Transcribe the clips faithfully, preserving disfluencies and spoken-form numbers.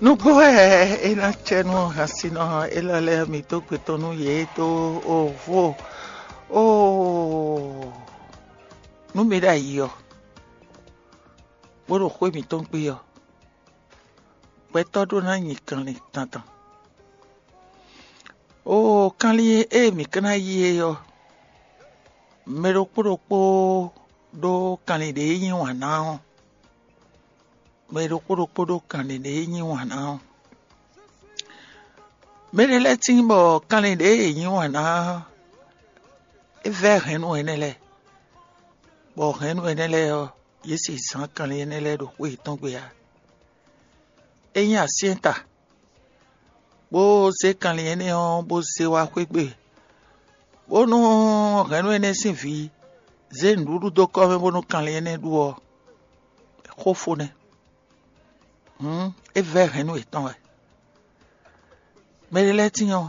Nǔgbó wɛ é ná cɛ nú hansinɔ élɔ́ lɛ́ɛ mi dó gbe tɔn nú yě dó ovo. Oo, nú mi ɖ'ayǐ ɔ́, bó ɖo xwé mǐtɔn gbe ɔ́, gbɛtɔ́ ɖó ná nyi kanlin dandan. Oo, kanlin e mǐ ka ná yí é ɔ́, mɛ ɖokpó ɖokpó ɖó kanlin ɖě nyí wǎn ná ɔ́, mɛ ɖokpó ɖokpó ɖó kanlin ɖě nyí wǎn ná ɔ́. Mɛ ɖé lɛ́ɛ tíin bɔ kanlin ɖě yě nyí wǎn ná ɔ́, é vɛ́ hɛ̌nnu énɛ́ lɛ́ɛ, bɔ hɛ̌nnu énɛ́ lɛ́ɛ ɔ́, yě si zǎn kanlin énɛ́ lɛ́ɛ ɖo xwé yětɔn gbe ǎ. É nyí asyɛ́nta, bó zé kanlin énɛ́ ɔ́ bó zé wá xwé gbe, bónú hɛ̌nnu énɛ́ sín vǐ zé nǔɖuɖu dó kɔ́ mɛ bónú kanlin énɛ́ ɖu ɔ́, xó fó nɛ́. Hǔn é vɛ́ hɛ̌nnu yětɔn wɛ. Mɛ ɖé lɛ́ɛ tíin ɔ́,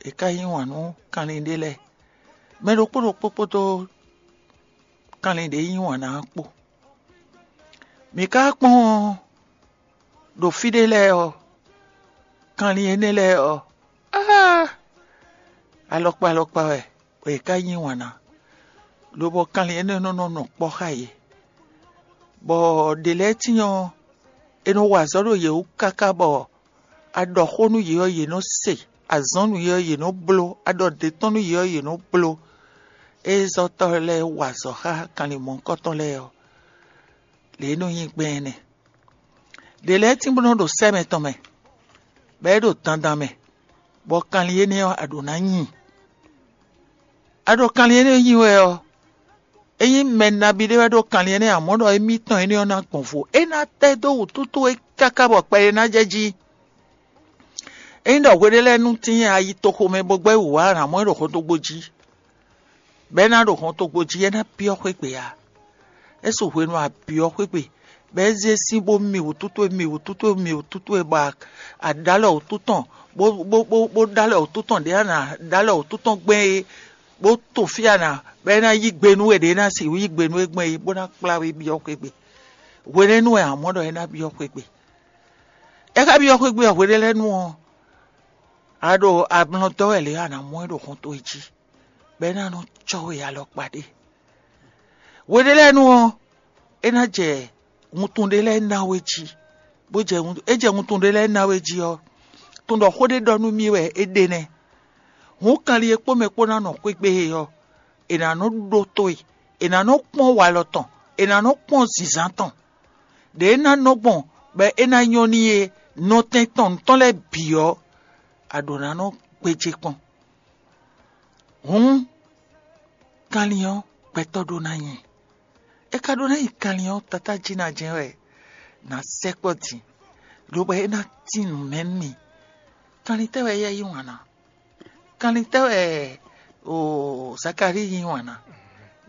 è ka yí wǎn nú kanlin ɖé lɛ́ɛ. Mɛ ɖokpó ɖokpó kpódó kanlin ɖě yí wǎn ná ɔ́ kpó. Mǐ ka kpɔ́n ɖo fí ɖé lɛ́ɛ ɔ́, kanlin énɛ́ lɛ́ɛ ɔ́, áa, alɔkpa alɔkpa wɛ è ka yí wǎn ná, lobɔ kanlin énɛ́ nɔ nɔ nɔ kpɔ́ xá yě, bɔ ɖě lɛ́ɛ tíin ɔ́, è nɔ wa azɔ̌ ɖo yě wú káká bɔ a ɖɔ xó nú yě ɔ́, yě nɔ se; a zɔ́n nú yě ɔ́, yě nɔ bló; a ɖɔ ɖě tɔn nú yě ɔ́, yě nɔ bló. Ée zɔ́tɔ́ lɛ́ɛ wa azɔ̌ xá kanlin mɔ̌hunkɔtɔn lɛ́ɛ ɔ́, lě e é nɔ nyí gbɛn é nɛ́. Ɖě lɛ́ɛ tín bó nɔ́ ɖo sɛ́ mɛtɔn mɛ, bɔ é ɖo dandan mɛ, bɔ kanlin énɛ́ ɔ́, a ɖǒ ná nyi. A ɖo kanlin énɛ́ nyi wɛ ɔ́, ényí mɛ nabí ɖé wɛ ɖó kanlin énɛ́, amɔ̌ ɖɔ émítɔn énɛ́ ɔ́ ná gbɔn vo; é ná tɛ́ dó wǔtútú é káká bɔ kpɛɖé ná jɛ jí. Ényí ɖɔ hwe ɖé lɛ́ɛ nú tíin a yi toxo mɛ bó gbɛ́ wǔ wá, a nǎ mɔ ɛ ɖo hɔntogbó jí, bɔ é ná ɖo hɔntogbó jí, é ná byɔ́ xwé gbe ǎ. É su hwenu a byɔ́ xwé gbe, bɔ é zé sín bó mi wǔtú towe, mi wǔtú towe, mi wǔtú towe, bɔ a ɖǎ lɔ wǔtú tɔn, bó bó bó bó ɖá lɔ wǔtú tɔn ɖě a nǎ ɖá lɔ wǔtú tɔn gbɛn é, bó to fí a nǎ, bɔ é ná yí gbe nú we ɖě é ná sixú yí gbe nú we gbɛn é, bó ná kplá we byɔ́ xwé gbe. Hwenɛ́nu wɛ a mɔ ɖɔ é ná byɔ́ xwé gbe. É ka byɔ́ xwé gbe ɔ́, hwe ɖé lɛ́ɛ nu ɔ́, a ɖo amlɔ dɔ́ wɛ lě a nǎ mɔ ɛ ɖo hɔn towe jí, bɔ é ná nɔ cɔ́ we alɔkpa ɖé. Hwe ɖé lɛ́ɛ nu ɔ́, é ná jɛ wuntun ɖé lɛ́ɛ ná we jí, bó jɛ wuntun, é jɛ wuntun ɖé lɛ́ɛ ná we jí ɔ́, tunwun ɖɔ xó ɖé ɖɔ nú mì wɛ é ɖe nɛ́. Hǔn kanlin e kpó mɛ kpó ná nɔ xwé gbe é ɔ́, è nǎ nɔ ɖótó e; è nǎ nɔ kpɔ́n walɔ tɔn; è nǎ nɔ kpɔ́n zǐnzán tɔn. Ɖě é ná nɔ gbɔn bɔ é ná nyɔ́ n'i é, nɔtɛn tɔn nǔ tɔn lɛ́ɛ bǐ ɔ́, a ɖǒ ná nɔ gbéjé kpɔ́n. Hǔn, kanlin ɔ́, gbɛtɔ́ ɖó ná nyi. É ka ɖó ná nyi kanlin ɔ́, tatá jí ná jɛ́n wɛ nǎ sɛkpɔ́ din, lobo é ná tín nǔ mɛ nú mì. Kanlin tɛ́ wɛ éyɛ́ yí wǎn ná? Kanlin tɛ́ wɛ o Zakalíi yí wǎn ná?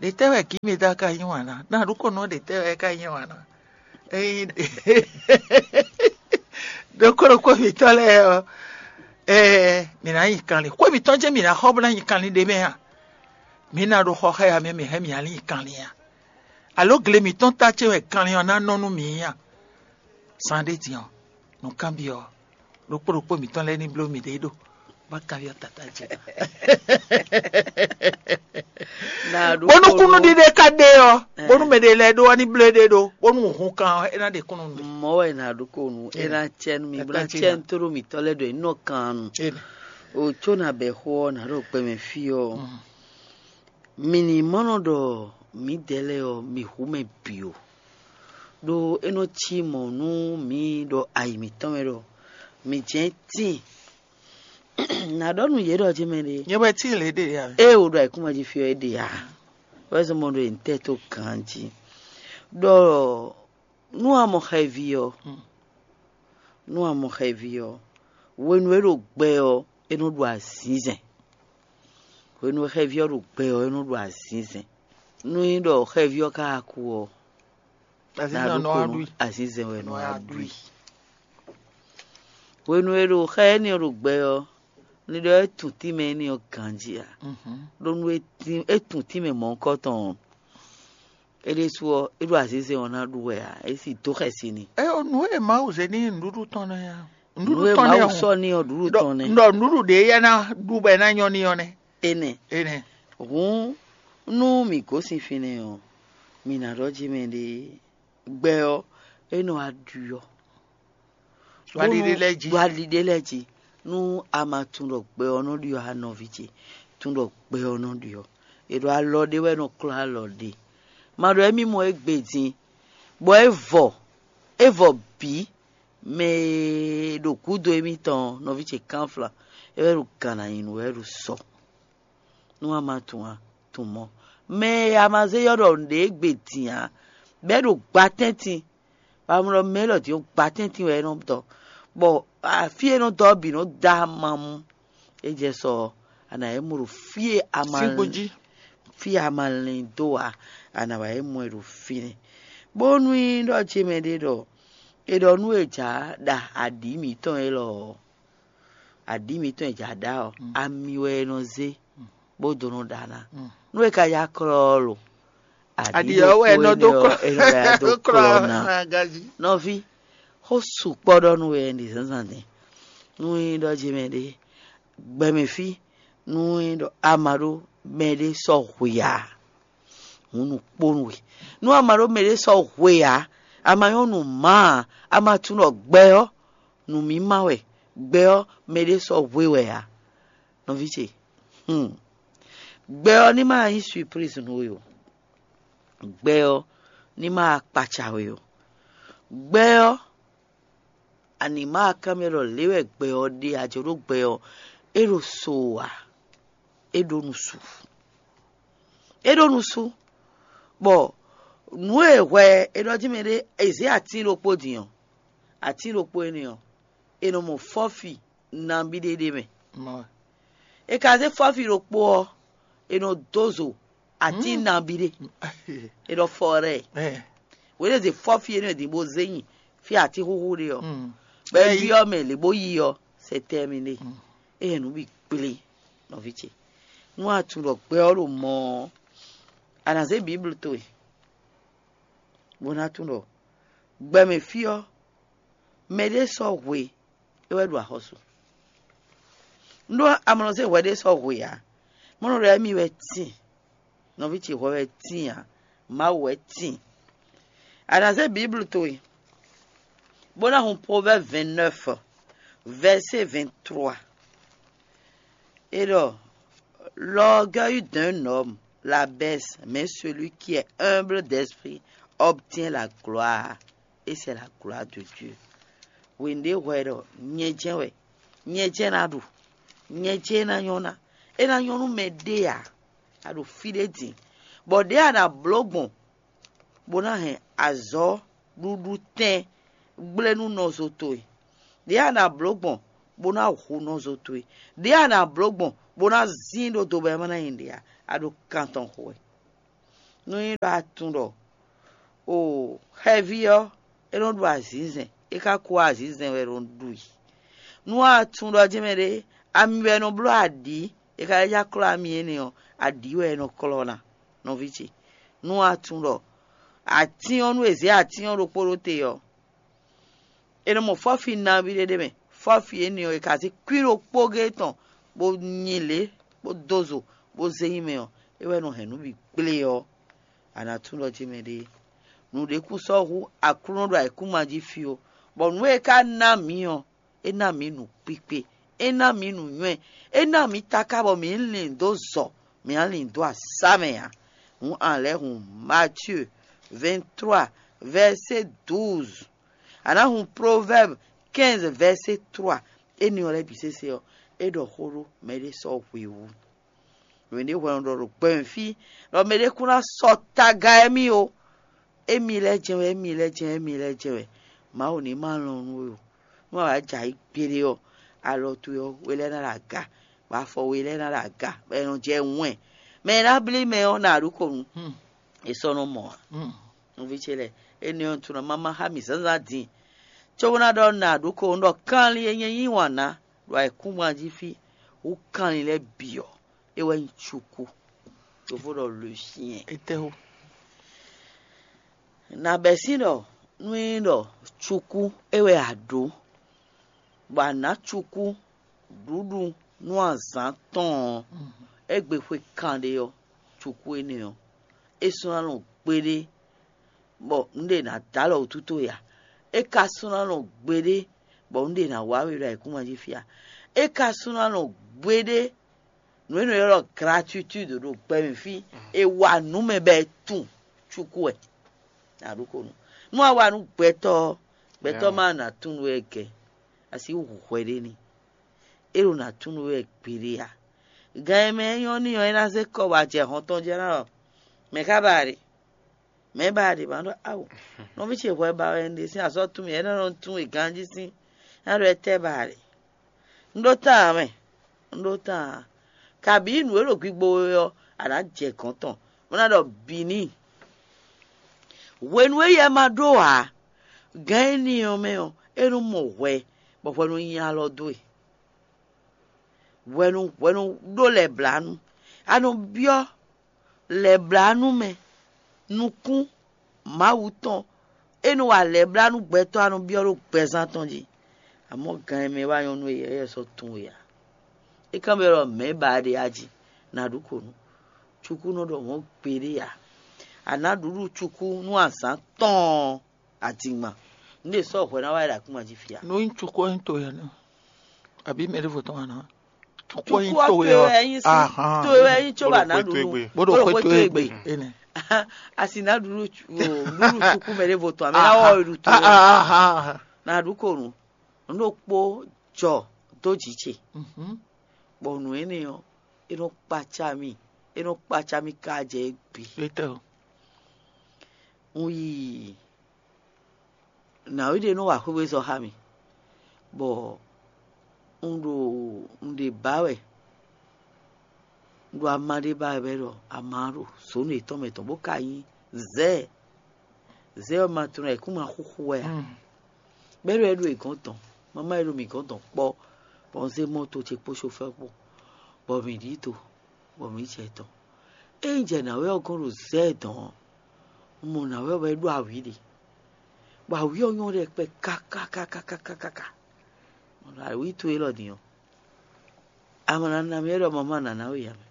Ɖě tɛ́ wɛ Gǐmeda ka yí wǎn ná? Ná ɖokpónɔ ɖě tɛ́ wɛ é ka yí wǎn ná? Ényí ɖokpó ɖokpó mǐtɔn lɛ́ɛ ɔ́, ɛɛ, mǐ ná nyi kanlin. Xwé mǐtɔn jɛ́n mǐ ná xɔ bó ná nyi kanlin ɖé mɛ a? Mǐ ná ɖo xɔ xá ya mɛ mǐ hɛn mǐ ná nyi kanlin a? Alo gle mǐtɔn ta ce wɛ kanlin ɔ́ ná nɔ nú mǐ a? Zan ɖé din ɔ́, nǔkanbyɔ́ ɔ́, ɖokpó ɖokpó mǐtɔn lɛ́ɛ ní bló mǐɖée ɖó, bó ná kanbyɔ́ tatá ce. Bónú kúnnuɖiɖe ka ɖe ɔ́, bónú mɛ ɖé lɛ́ɛ ɖó ɔ́ ní bló éɖée ɖó, bónú hun kan ɔ́, é ná ɖe kúnnu nú mì. Mɔ̌ wɛ è nǎ ɖó kó nu, é ná cɛ nú mi, bó ná cɛ nú tóɖó mǐtɔn lɛ́ɛ ɖɔ è nɔ kan nu. O có ná bɛ xó ɔ́, nǎ ɖo gbɛmɛ fí ɔ́. Mǐ ní mɔ nɔ ɖɔ mǐdɛɛ lɛ́ɛ ɔ́, mǐ hu mɛ bǐ ó. Ɖó é nɔ cí mɔ̌ nú mǐ ɖɔ ayi mǐtɔn mɛ ɖɔ mǐ jɛ́n tíin. Nǎ ɖɔ nú yě ɖɔ jɛ́n mɛ ɖé. Nyɛ wɛ tíin lě ɖe ǎ. Ée wǒ ɖo ayǐkúngban jí fí ɔ́, é ɖe ǎ. Wɛ́ zɔ́n mɔ ɖo nǔtɛ́ tó ganjí. Ɖɔ nú a mɔ xɛví ɔ́, nú a mɔ xɛví ɔ́, hwenu e é ɖo gbɛ ɔ́, é nɔ ɖu azinzɛn. Hwenu e xɛví ɔ́ ɖo gbɛ ɔ́, é nɔ ɖu azinzɛn. Nú é ɖɔ xɛví ɔ́ ka kú ɔ́, azinzɛn nɔ wá ɖu i. Azinzɛn wɛ nɔ wá ɖu i. Hwenu e ɖo xɛ énɛ́ ɔ́ ɖo gbɛ ɔ́, ní ɖɔ é tun tínmɛ énɛ́ ɔ́ ganjí ǎ. Ɖó nú é tun tínmɛ mɔ̌hunkɔtɔn ɔ́, É ɖésú ɔ́, é ɖo azǐzɛ́n ɔ́ ná ɖu wɛ ǎ, é sì dó xɛsi n'i. É ɔ́, nǔ e Mawu zé n'i nǔɖuɖu tɔn nɛ́ ǎ. Nǔɖuɖu tɔn nɛ́ hǔn. Sɔ n'i ɔ́, ɖuɖu tɔn nɛ́. Ɖɔ nǔɖuɖu ɖě yɛ ná ɖu bɔ é ná nyɔ́ n'i ɔ́ nɛ́. Énɛ́. Énɛ́. Hǔn, nú mǐ gosín fínɛ́ ɔ́, mǐ ná ɖɔ jí mɛ ɖé gbɛ ɔ́, é nɔ wá ɖu ɔ́. Ɖo ali ɖé lɛ́ɛ jí. Ɖo ali ɖé lɛ́ɛ jí. Nú a ma tunwun ɖɔ gbɛ ɔ́ nɔ ɖi ɔ́, a nɔví ce, tunwun ɖɔ gbɛ ɔ́ nɔ ɖi ɔ́, è ɖɔ alɔ ɖé wɛ nɔ klɔ́ alɔ ɖé. Ma ɖɔ émí mɔ égbé din, bɔ é vɔ, é vɔ bǐ, mɛ e ɖo gǔdo émítɔn ɔ́, nɔví ce kánflá, é wɛ ɖo gǎn ná nyi nǔ wɛ ɖo sɔ. Nú a ma tunwun a tunwun mɔ̌. Mɛ e a ma zé ylɔ́ ɖɔ nǔɖé égbé din ǎ, bɔ é ɖo gba tɛ́ntin, bɔ a mɔ ɖɔ mɛ élɔ́ din ɔ́, gba tɛ́ntin wɛ é nɔ dɔ, bɔ fí e é nɔ dɔ ɔ́ bǐ nɔ dó amamú. É jɛ sɔ ɔ́, a nǎ yɛ mɔ ɖo fí e a ma Sín kpo jí. Fí e a ma lɛn dó ǎ, a nǎ wá yɛ mɔ ɛ ɖo fínɛ́. Bónú nyí ɖɔ ce mɛ ɖé ɖɔ è ɖɔ nú è jǎ ɖa aɖǐ mǐtɔn élɔ́ ɔ́, aɖǐ mǐtɔn e jǎ ɖa ɔ́, ami wɛ è nɔ zé bó dó nɔ ɖa ná. Nú è ka yá klɔ́ ɔ́ lo, aɖǐ Aɖǐ ɔ́ wɛ è nɔ dó klɔ́. È nɔ dó klɔ́ ná. Nɔví, xó sukpɔ́ ɖɔ nú we ɖi zǎnzǎn din. Nú nyí ɖɔ jí mɛ ɖé, gbɛmɛ fí, nú nyí ɖɔ a ma ɖó mɛ ɖé sɔ́ hwe ǎ, hǔn nǔ kpó nú we. Nú a ma ɖó mɛ ɖé sɔ́ hwe ǎ, a ma nyɔ́ nǔ má ǎ, a ma tunwun ɖɔ gbɛ ɔ́, nǔmímá wɛ, gbɛ ɔ́, mɛ ɖé sɔ́ hwe wɛ ǎ. Nɔví ce, hmm. Gbɛ ɔ́ ní ma nyí surprise nú we o. Gbɛ ɔ́ ní ma kpaca we o. Gbɛ ɔ́, a nǐ ma kanbyɔ́ ɖɔ lě wɛ gbɛ ɔ́ ɖe a jǒ ɖó gbɛ ɔ́, é ɖo so ǎ, é ɖó nǔsú. É ɖó nǔsú, bɔ nǔ e hwɛ è ɖɔ jí mɛ ɖé è zě atín ɖokpó din ɔ́, atín ɖokpó énɛ́ ɔ́, è nɔ mɔ fɔ́fi nabí ɖé ɖ'é mɛ. È ka zé fɔ́fi ɖokpó ɔ́, è nɔ dó zo atín nabí ɖé. È nɔ fɔ ɖɛ. Wěɖé zé fɔ́fi énɛ́ din bó zé nyi fí atín xúxú ɖé ɔ́, bɔ é byɔ́ mɛ lě bó yí ɔ́, c'est terminé. É hɛn nǔ bǐ kplé, nɔví ce. Nú a tunwun ɖɔ gbɛ ɔ́ ɖo mɔ ɔ́, a nǎ zé Biblu towe, bó ná tunwun ɖɔ gbɛmɛ fí ɔ́, mɛ ɖé sɔ́ hwe, é wɛ ɖo axɔ́sú. Un ɖó amlɔ zé hwɛ ɖé sɔ́ hwe ǎ. Mɔ̌ nɔ ɖɔ émí wɛ tíin, nɔví ce hwɛ wɛ tíin ǎ, Mawu wɛ tíin. A nǎ zé Biblu towe, bó ná hun Proverbe vingt-neuf, verset vingt-trois. Et alors, l'orgueil d'un homme l'abaisse, mais celui qui est humble d'esprit obtient la gloire, et c'est la gloire de Dieu. Wěnde hwɛ ɖɔ nyɛ jɛ́n wɛ, nyɛ jɛ́n ná ɖu, nyɛ jɛ́n ná nyɔ́ ná, é ná nyɔ́ nú mɛ ɖé ǎ. A ɖo fí ɖé din, bɔ ɖěe a nǎ bló gbɔn bó ná hɛn azɔ̌ ɖuɖu tɛn gblé nú nɔzo towe. Ɖěe a nǎ bló gbɔn bó ná hu nɔzo towe. Ɖěe a nǎ bló gbɔn bó ná zín ɖó do bɔ é ma ná nyi ɖě ǎ. A ɖo kan tɔn xo wɛ. Nú nyí ɖɔ a tunwun ɖɔ o xɛví ɔ́, é nɔ ɖu azǐnzɛn, é ka kú azǐnzɛn wɛ é nɔ ɖu i. Nú a tunwun ɖɔ jɛ́n mɛ ɖé, ami wɛ nɔ bló aɖǐ, é ka lɛ́ já klɔ́ ami énɛ́ ɔ́, aɖǐ wɛ é nɔ klɔ́ ná, nɔví ce. Nú a tunwun ɖɔ atín ɔ́, nú è zě atín ɔ́ ɖokpó ɖó te ɔ́, è nɔ mɔ fɔ́fi nabí ɖé ɖ'é mɛ. Fɔ́fi énɛ́ ɔ́, è ka zé kwín ɖokpó géé tɔn bó nyi lě, bó dó zo, bó zé nyi mɛ ɔ́, é wɛ nɔ hɛn nǔ bǐ gblé ɔ́, a nǎ tunwun ɖɔ jí mɛ ɖé. Nǔɖé kún sɔ́ hú Aklúnɔ ɖo ayǐkúngban jí fí ó, bɔ nǔ e é ka ná mǐ ɔ́, é ná mǐ nǔkpíkpé, é ná mǐ nǔnywɛ́, é ná mǐ taká bɔ mǐ lin dó zɔ, mǐ ná lin dó asá mɛ ǎ. Hǔn a lɛ́ hun Matyuu vingt-trois, verset douze. A nǎ hun Proverbe quinze, verset trois. Énɛ́ ɔ́ lɛ́ɛ bǐ sésé ɔ́, é ɖɔ xó ɖó mɛɖé sɔ́ hwewú. Mɛɖé hwɛ nɔ ɖɔ ɖo gbɛmɛ fí ɖɔ mɛɖé kún ná sɔ́ taga émí ó. Émí lɛ́ɛ jɛ́n wɛ, émí lɛ́ɛ jɛ́n wɛ, émí lɛ́ɛ jɛ́n wɛ. Mawu ní ma lɔn nú we o. Nú a wǎ jɛ ayǐ gbeɖé ɔ́, alɔ towe ɔ́, we lɛ́ɛ ná ɖo aga, bɔ afɔ we lɛ́ɛ ná ɖo aga, bɔ è nɔ jɛ wɛn. Mɛ e ná blí mɛ ɔ́, nǎ ɖu kɔ nu. È sɔ́ nɔ mɔ ǎ. Nɔví ce lɛ́ɛ, énɛ́ ɔ́ tunɔ mama xá mì zǎnzǎn din, cóbó ná ɖɔ nǎ ɖu kɔ nu ɖɔ kanlin e nyɛ yí wǎn ná ɖo ayǐkúngban jí fí hú kanlin lɛ́ɛ bǐ ɔ́, é wɛ nyí cukú. Yovo ɖɔ le chien. Étɛ́wú? Nǎ bɛ́ sín ɖɔ nú é nyí ɖɔ cukú é wɛ a ɖǒ, bɔ a nǎ cukú ɖuɖu nú azǎn tɔn ɔ́, égbé xwe kanɖé ɔ́, cukú énɛ́ ɔ́, é sɔ́ ná nɔ gbeɖé, bɔ nǔɖé ná dó alɔ wǔtu towe ǎ. É ka sɔ́ ná nɔ gbeɖé, bɔ nǔɖé ná wá we ɖo ayǐkúngban jí fí ǎ. É ka sɔ́ ná nɔ gbeɖé, nǔ e nɔ ylɔ́ ɖɔ gratuitúdu ɖo gbɛ mɛ fí, è wa nǔ mɛ bɔ è tunwun cukú wɛ. Nǎ ɖu xó nú. Nú a wa nú gbɛtɔ́ ɔ́, gbɛtɔ́ ma ná tunwun we wɛ gɛ̌, a sixú hu hwɛ ɖé n'i. É ɖo ná tunwun we wɛ gbeɖé ǎ. Gan e mɛ é nyɔ́ n'i ɔ́, é ná zé kɔ bɔ a jɛ hɔn tɔn jɛ ná ɖɔ: "Mɛ̌ ka ba a ɖe? Mɛ̌ ba a ɖe?" Ma ɖɔ: "Awo, nɔví ce hwɛ ba wɛ un ɖe sín azɔ̌ tún mì, é nɔ nɔ tunwun e ganjí sín, ná ɖɔ étɛ́ ba a ɖe?" Un ɖó tán ǎ mɛ, un ɖó tán ǎ. Kabǐ nǔ e ɖo gbigbo we ɔ́, a nǎ jɛ gɔ̌n tɔn, bó ná ɖɔ bǐ n'i. Hwenu e yɛ ma ɖó ǎ, gǎn énɛ́ ɔ́ mɛ ɔ́, é nɔ mɔ hwɛ, bɔ hwɛ nɔ nyi alɔ dó e. Hwɛ nɔ hwɛ nɔ ɖó lɛ̌blánú. A nɔ byɔ́ lɛ̌blánú mɛ nukún Mawu tɔn e nɔ wa lɛ̌blánú gbɛtɔ́ a nɔ byɔ́ ɖó gbɛzán tɔn jí. Amɔ̌ gan e mɛ wá nyɔ́ nú we ɔ́, é sɔ́ tunwun we ǎ. É kanbyɔ́ ɖɔ mɛ̌ ba a ɖe a jí? Nǎ ɖu kǒ nú cukú nɔ ɖɔ mɔ̌ gbeɖé ǎ. A nǎ ɖuɖu cukú nú azǎn tɔn ɔ́, adingban. Nǔ ɖě sɔ́ hwɛ ná wá yi ɖo akúma jí fí a? Nú nyí cukú ɔ́ nyí to yɛ nɛ, abǐ mɛ ɖěvo tɔn wá ná. Cukú ɔ́ nyí to yɛ ɔ́, to wɛ nyí cóbá ná ɖuɖu bó ɖo xwé to egbe. Énɛ́. A sì ná ɖuɖu cu- o, ɖuɖu cukú mɛ ɖěvo tɔn, amɛ ná wɔ ɖu to wɛ. Ná ɖu kò nú. Un ɖo kpó jɔ dó jǐ ce, bɔ nǔ énɛ́ ɔ́, é nɔ kpaca mì, é nɔ kpaca mì ka jɛ égbé. Étɛ́ o. Un yi nǎwe ɖé nɔ wa xwéwezɔ́ xá mì, bɔ un ɖo un ɖe bǎ wɛ, un ɖo ama ɖé ba wɛ bɔ é ɖɔ ama ɔ́ ɖo zǒnu yětɔn mɛ tɔn, bó ka nyí zɛ̌. Zɛ̌ ɔ́ ma tunwun ayǐkúngban xúxú wɛ ǎ. Bɔ é ɖo é ɖo è gɔ̌n tɔn, mamá e ɖo mǐ gɔ̌n tɔn kpɔ́, bɔ un zé mɔto ce kpó sofɛ́ kpó, bɔ mǐ ɖi do, bɔ mǐ jɛ dɔ̌n. Ée un jɛ nǎwe ɔ́ gɔ́n ɖo zɛ̌ dɔ̌n ɔ́, un mɔ nǎwe ɔ́ bɔ é ɖó awǐ ɖé, bɔ awǐ ɔ́ nyɔ́ ɖɛkpɛ káká káká káká káká. Awǐ towe élɔ́ din ɔ́, a ma ná ná mì é ɖɔ mamá ná ná we ǎ mɛ.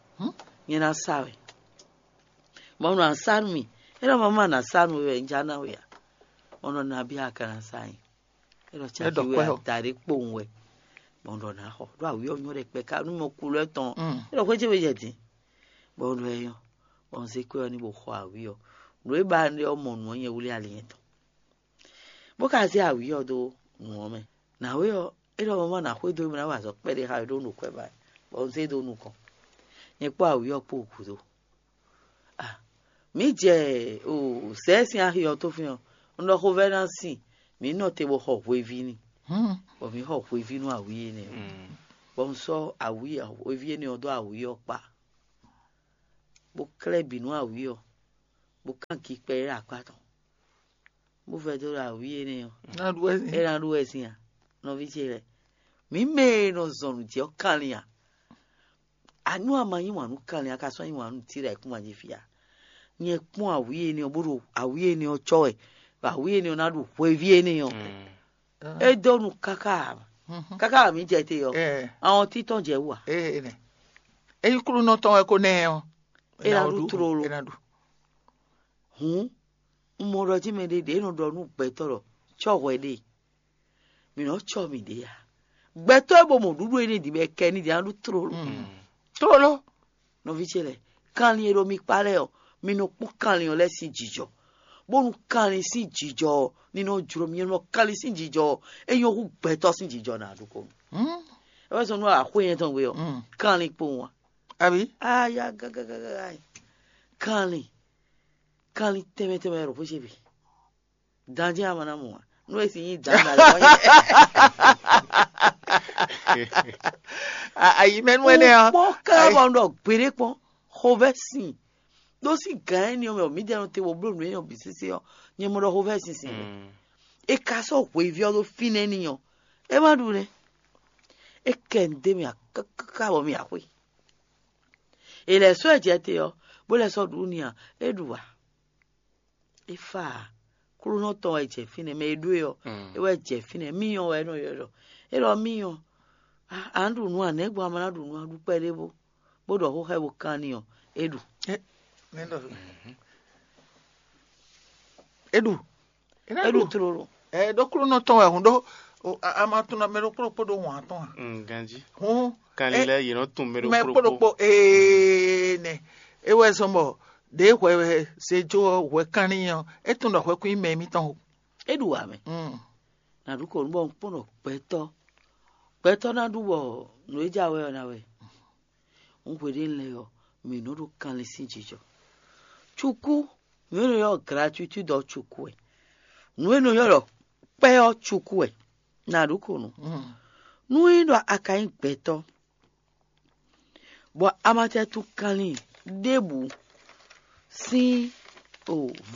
Nyɛ ná sa wɛ. Bɔ un ɖo ǎ sá nú mì. É ɖɔ mamá ná sá nú we wɛ un já ná we ǎ. Bɔ un ɖɔ nabí a ka ná sá nyi? É ɖɔ caki we adaɖé kpowun wɛ. Bɔ un ɖɔ ná xɔ. Ɖó awǐ ɔ́ nyɔ́ ɖɛkpɛ ká nú mɔ kulú ɛ tɔn. É ɖɔ xwé ce we jɛ din. Bɔ un ɖɔ ɛ nyɔ́. Bɔ un zé kwɛ́ ɔ́ ní bo xɔ awǐ ɔ́. Nǔ e ba ɖe ɔ́ mɔ nǔ ɔ́ nyɛ wlí ali nyɛtɔn. Bó ka zé awǐ ɔ́ dó nǔ ɔ́ mɛ. Nǎwe ɔ́, é ɖɔ mamá ná xwedó mì ná wa azɔ̌ kpɛɖé xá we ɖó un ɖo kwɛ́ ba wɛ, bɔ un zé dó nukɔn. Nyɛ kpó awǐ ɔ́ kpó gǔdo. Ah, mǐ jɛ o sɛ̌ sín axi ɔ́ tó fín ɔ́, un ɖɔ xovɛ́ ná sin, mǐ nɔ te bó xɔ hweví n'i, bɔ mǐ xɔ hweví nú awǐ énɛ́ ɔ́. Bɔ un sɔ́ awǐ hweví énɛ́ ɔ́ dó awǐ ɔ́ kpá, bó klɛ́ bǐ nú awǐ ɔ́, bó kán ki kpɛɖé ɖo akpá tɔn, bó vɛdó ɖo awǐ énɛ́ ɔ́. Ná ɖu wɛ sin. É ná ɖu wɛ sin a? Nɔví ce lɛ́ɛ, mǐ mɛ e nɔ zɔn nǔ jɛ ɔ́ kanlin a? Anu a ma yí wǎn nú kanlin a ka sɔ́ yí wǎn nú Tíra e kún wǎn jí fí a? Nyɛ kpɔ́n awǐ énɛ́ ɔ́, bó ɖo awǐ énɛ́ ɔ́ cɔ́ wɛ, bɔ awǐ énɛ́ ɔ́ ná ɖu hweví énɛ́ ɔ́. É dó nu káká, káká mǐ jɛ te ɔ́, awɔn títɔn jɛ wú a? Ényí klúnɔ tɔn wɛ ko nɛ ɔ́, é ná ɖu tlolo. Hǔn un mɔ ɖɔ jí mɛ ɖé ɖě nɔ ɖɔ nú gbɛtɔ́ ɖɔ cɔ́ hwɛ ɖe, mǐ nɔ cɔ́ mǐɖée a? Gbɛtɔ́ e bo mɔ ɖuɖu énɛ́ din bɔ è kɛ ní din á ɖu tlolo. Tlolo. Nɔví ce lɛ́ɛ, kanlin e ɖo mi kpá lɛ́ɛ ɔ́, mi nɔ kpɔ́n kanlin ɔ́ lɛ́ɛ sín jǐjɔ, bónú kanlin sín jǐjɔ ɔ́ ní nɔ jló mi. Nɔ kanlin sín jǐjɔ ɔ́, é nyɔ́ hú gbɛtɔ́ sín jǐjɔ ná ɖokpó. É wɛ zɔn nú axwé nyɛ tɔn gbe ɔ́, kanlin kpowun a? Abi. Aya gagagaga. Kanlin, kanlin tɛnmɛ tɛnmɛ wɛ ɖo xwé ce bǐ. Dan jɛ́n a ma ná mɔ ǎ. Nú e si nyí dan na lɛ kɔn nyɛ. Ayi mɛ nú ɛnɛ ɔ́. Kpɔ́n ká bɔ un ɖɔ gbeɖé kpɔ́n xovɛ́ sin. Ɖó sín gǎn énɛ́ ɔ́ mɛ ɔ́, mǐdɛɛ nɔ te bɔ bló nǔ énɛ́ ɔ́ bǐ sésé ɔ́, nyɛ mɔ ɖɔ xovɛ́ sin sin wɛ. È ka sɔ́ hweví ɔ́ ɖó fínɛ́ n'i ɔ́, é má ɖu nɛ́. É kɛ nǔ dó mì káká bɔ mì axwé. È lɛ̌ sɔ́ ɛ jɛ te ɔ́, bó lɛ́ sɔ́ ɖu n'i a, é ɖu ǎ. É fá ǎ. Klúnɔ tɔn wɛ jɛ fínɛ́, mɛ e ɖó e ɔ́, é wɛ jɛ fínɛ́. Míyɔn wɛ é nɔ ylɔ́ ɖɔ, é ɖɔ míyɔn, a nǎ ɖu nǔ a nɛ̌ gbɔn a ma ná ɖu nǔ a ɖu kpɛɖé bó bó ɖɔ xó xá bo kanni ɔ́, é ɖu. É ɖu. É ɖu. É ɖu tlolo. Ɛ ɖó klúnɔ tɔn wɛ hun ɖó. A ma tunɔ mɛ ɖokpó ɖokpó ɖó wǎn tɔn a? Ganjí. Hun. Kanlin lɛ́ɛ yě nɔ tunwun mɛ ɖokpó ɖokpó. Ee nɛ. É wɛ zɔn bɔ ɖěe hwɛ wɛ se jó ɔ́ hwɛ kanlin ɔ́, é tunwun ɖɔ hwɛ kún nyí mɛ émítɔn o. É ɖu wǎ mɛ. Nǎ ɖu kɔ nú bɔ un kpɔ́n ɖɔ gbɛtɔ́ gbɛtɔ́ ná ɖu bɔ nǔ e jɛ awɛ ɔ́ ná wɛ. Un hweɖénu lɛ́ɛ ɔ́, mǐ nɔ ɖo kanlin sín jijɔ. Cukú, nǔ e nɔ ylɔ́ gratuitide ɔ́ cukú wɛ. Nǔ e nɔ ylɔ́ ɖɔ kpɛ́ ɔ́ cukú wɛ. Nǎ ɖu kɔ nú. Nú é ɖɔ a ka nyí gbɛtɔ́, bɔ a ma tɛ tunwun kanlin ɖěbǔ sín